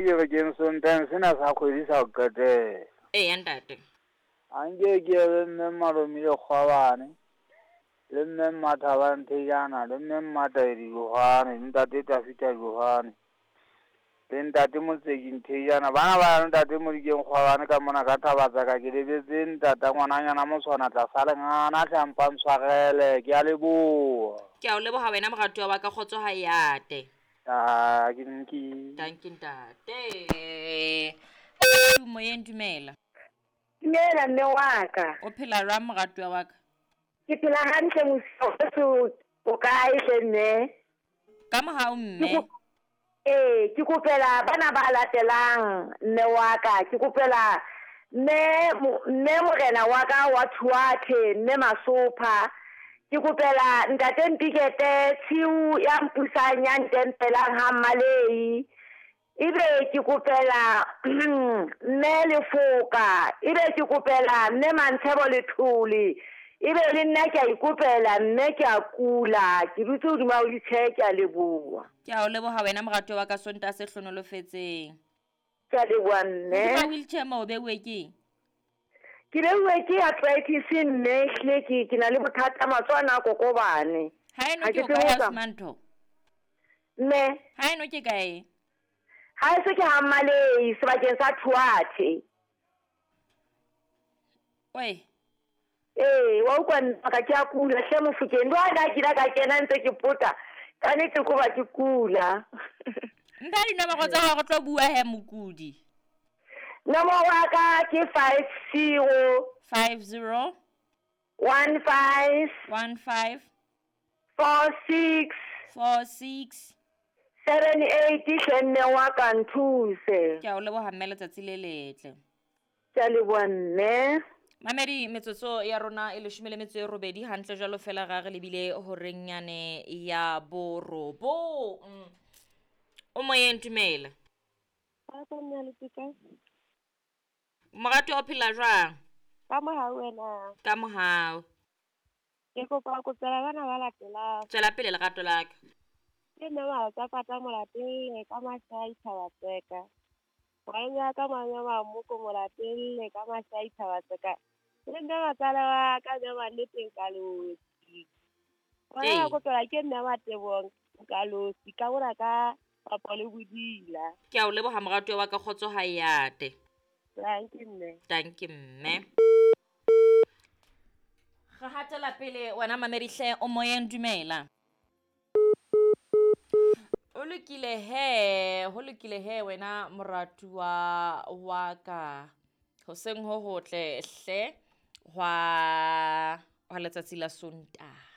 Ke re keng Sontaheng sena sa kgwedi sa ho qetela. Eya ntate. A nke ke ye le mme Malomile Kgwabane, le mme Mmathabang Thejana, le mme Mmataedi Johane, le ntate Tafita Johane, le ntate Motseki Nthejana. Bana ba ya le ntate Modikeng Kgwabane ka mona ka thaba tsa ka. Ke lebetse ntata ngwananyana motshwana tlasa lengana hle a mpa ntshwarele. Ke a leboha. Ke a o leboha wena moratuwa wa ka, kgotso ha e ate. Ah, ke nki. Dankie ntate. Moyeng dumela. Dumela mme wa ka. O phela jwang moratuwa wa ka? Ke phela hantle mosio o kae hle mme? Ka mohau mme. Ee, ke kopela bana ba latelang mme wa ka. Ke kopela mme mme morena wa ka wa Thuathe, mme Masopha. Ke kopela ntate Mpikete tshiu ya mpusang ya ntempelang ha Mmalei. Ebe ke kopela mme Lefoka, ebe ke kopela mme Mantshebo Lethole. Ebe le nna ke a ikopela mme ke a kula, ke dutse hodima wheelchair, ke a leboha. Ke a o leboha wena moratuwa wa ka, Sontaha se hlonolofetseng. Ke a leboha mme. Hodima wheelchair mo o beuwe keng? Ke beuwe ke arthritis mme, ehlile ke ke na le bothata matsoho ana a kokobane. Haeno Ha ke ke o tsebe kae ho ausi tsamaya. Mantho? Mme. Haeno ke kae? Haeso ke ha Mmalei sebakeng sa Thuathe. Oi. Ee, wa utlwa nna ka ke a kula hle Mofokeng. Le ha kile ka kena ntse ke pota, ka nnete ko ba ke kula. Mpha dinomoro tsa hao re tlo bua he mokudi. Nomoro ya ka ke 50 50 15 15 46 46 78 hle mme wa ka nthuse. Ke a o leboha mme, letsatsi le letle. Ke a leboha mme. Mamedi, metsotso ya rona e leshome le metso e robedi hantle jwalo fela ga re lebile horeng yane ya borobong. O moyeng dumela. Moratuwa o phela jwang? Ka mohau wena. Ka mohau. Ke kopa ho kopela bana ba latelang. Tswela pele lerato la ka. Ke mme Matsapata Molatelle ka Mashai Thabatseka. Ngwana ya ka Mame Mamoko Molatelle ka Mashai Thabatseka. Le mme matsala wa ka mme Manneteng Kalosi. Ngwana Ee. wa kopela ke mme Matebong Kalosi ka mona ka Papa le Bodila. Ke a o leboha moratuwa wa ka, kgotso ha e ate. Dankie mme. Dankie mme. Re hatela pele wena mamedi hle, o moyeng dumela. O lokile he, ho lokile he wena moratuwa wa ka. Hoseng ho hotle hle hwa hwa letsatsi la Sontaha.